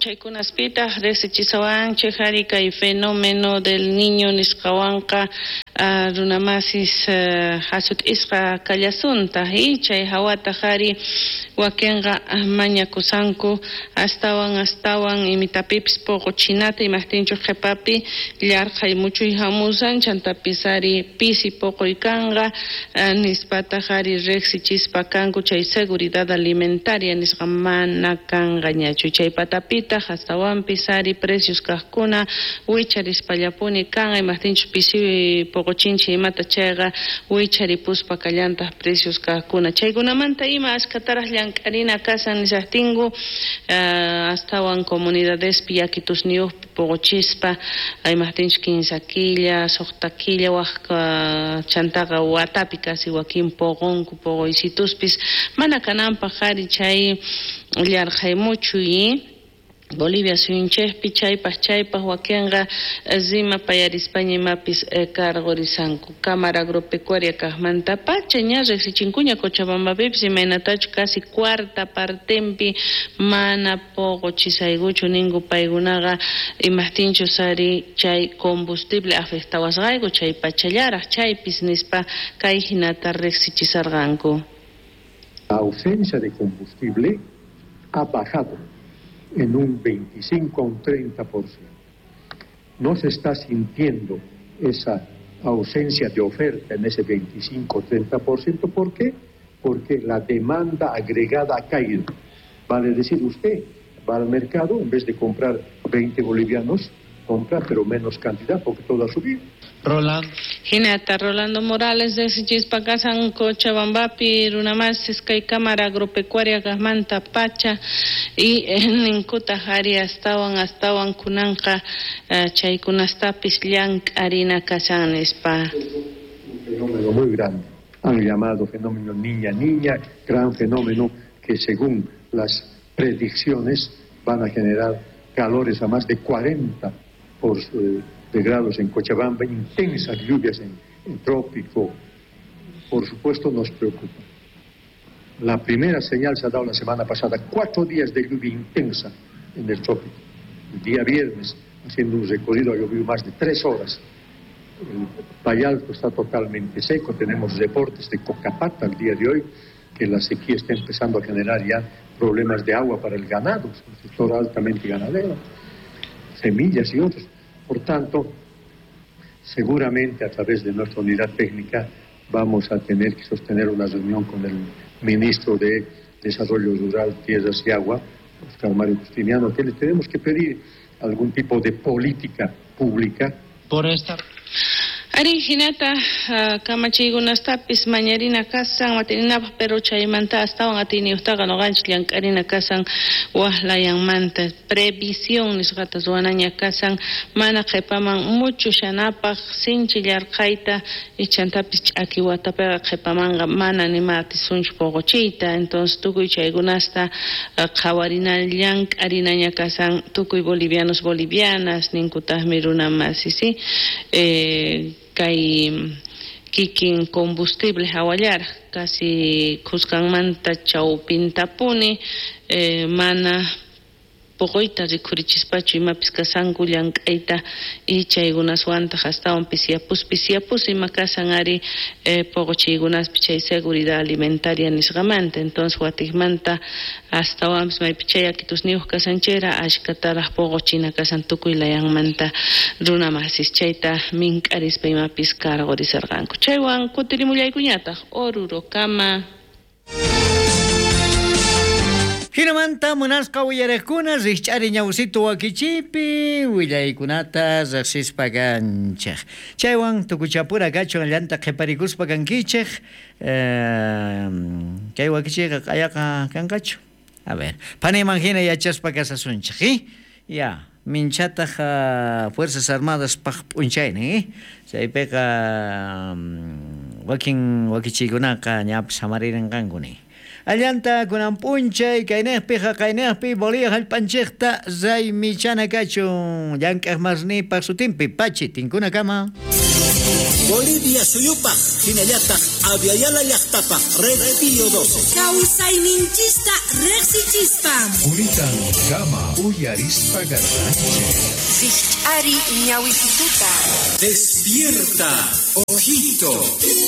P'unchaykunaspitaq riqsichisawanchik ari kay fenómeno del niño nisqawanqa runamasis hasut'isqa kallasuntaq y chay hawataq ari wakinqa mañakusanku astawan astawan imitapipis puquchinata imaqtinchus qhipapi llarqhay muchuy hamusan chantapis ari pisi puquy kanqa nispataq ari riqsichispa kanku chay seguridad alimentaria nisqa mana kanqañachu chay patapitaq astawanpis ari precios kaqkuna wicharispallapuni kanqa imaqtinchus pisi puquchinchik imata chayqa wicharipuspa kallantaq precios kaqkuna chaykunamanta ima ashkataraq llank'arina kasan nishaqtinku astawan comunidadespi yakitusniyuqpi puquchispa imaqtinchus 15 killa 6 killa waq chantaqa watapi casi wakin puqunku puquysituspis mana kananpaq ari chay llarqhay muchuy Bolivia suyunchikpi chaypaq chaypaq wakinqa rimapayarispaña imapis cargorisanku Cámara Agropecuaria kaqmanta pacha ña riqsichinkuña Cochabambapipis imaynatachu casi cuarta partempi mana puquchisaykuchu ninku paykunaqa imaqtinchus ari chay combustible afectawasqayku chay pachallaraq chaypis nispa kay hinata riqsichisarqanku. La ausencia de combustible ha bajado en un 25 a un 30%. No se está sintiendo esa ausencia de oferta en ese 25 o 30%. ¿Por qué? Porque la demanda agregada ha caído. Vale decir, usted va al mercado, en vez de comprar 20 bolivianos, compra pero menos cantidad porque todo ha subido. Rolando. Hinata Rolando Morales de Chispacasan Cochabambapi runamasis kay Cámara Agropecuaria kaqmanta pacha y ninkuta ari astawan astawan kunanqa chaykunastapis llank'arina kashan nispa. Un fenómeno muy grande, han llamado fenómeno niña niña, gran fenómeno que según las predicciones van a generar calores a más de 40 de grados en Cochabamba, intensas lluvias en trópico. Por supuesto nos preocupa. La primera señal se ha dado la semana pasada, 4 días de lluvia intensa en el trópico. El día viernes, haciendo un recorrido, ha llovido más de 3 horas. El Valle Alto está totalmente seco, tenemos reportes de Cocapata al día de hoy, que la sequía está empezando a generar ya problemas de agua para el ganado, un sector altamente ganadero, semillas y otros. Por tanto, seguramente a través de nuestra unidad técnica vamos a tener que sostener una reunión con el ministro de Desarrollo Rural, Tierras y Agua, Oscar Mario Justiniano, que le tenemos que pedir algún tipo de política pública. Por esta... Ari hinata kamachiykunastapis mañarina kasan matininapaq pero chaymanta astawan atiniyuqtaqa nuqanchik llank'arina kasan waqlayanmanta previsión nisqata ruwanaña kasan mana qhipaman muchushanapaq sinchi llarqayta ichantapis ch'aki watapiqa qhipamanqa mana nima atisunchu puquchiyta entonces tukuy chaykunasta qhawarina llank'arinaña kasan tukuy bolivianos bolivianas ninkutaqmi runamasi si kay kikin combustible hawallaraq casi khuskanmanta chawpintapuni mana puquyta rikhurichispachu imapis kasanku llank'ayta y chaykunaswantaq astawan pisiyapus ima kasan ari puquchiykunaspi chay seguridad alimentaria nisqamanta entonces watiqmanta astawanpis maypi chay yakitusniyuq kasanchera ashkataraq puquchina kasan tukuy layanmanta runamasis chayta mink'arispa imapis cargorisarqanku chaywan kutirimullaykuñataq Orurokama. Hinamanta munasqa uyariqkuna rikch'ari ñawsitu wakichipi willaykunata riqsispa kanchik. Chaywan tukuchapura kachun llanta qhiparikuspa kankichik. Kay wakichiqa q'ayaqa kanqachu. A ver, paniman hina yachaspa kasasunchik, Ya, minchataq Fuerzas Armadas paq p'unchaynin, Chaypiqa wakin wakichiykunaqa ñapis hamaririnqankuni. Allanta kunan p'unchay kaynaqpi haqaynaqpi Bolivia hallp'anchikta raymichana kachun llank'aq masnipaq sutinpi pachi tinkunakama. Bolivia suyupaj hinallataq Abya Yala llaqtapaj Red Pío 12. Kawsayninchista riqsichispa. Quritan kama uyarispa kashanchik. Rikch'ari ñawisituta. Despierta, ojito.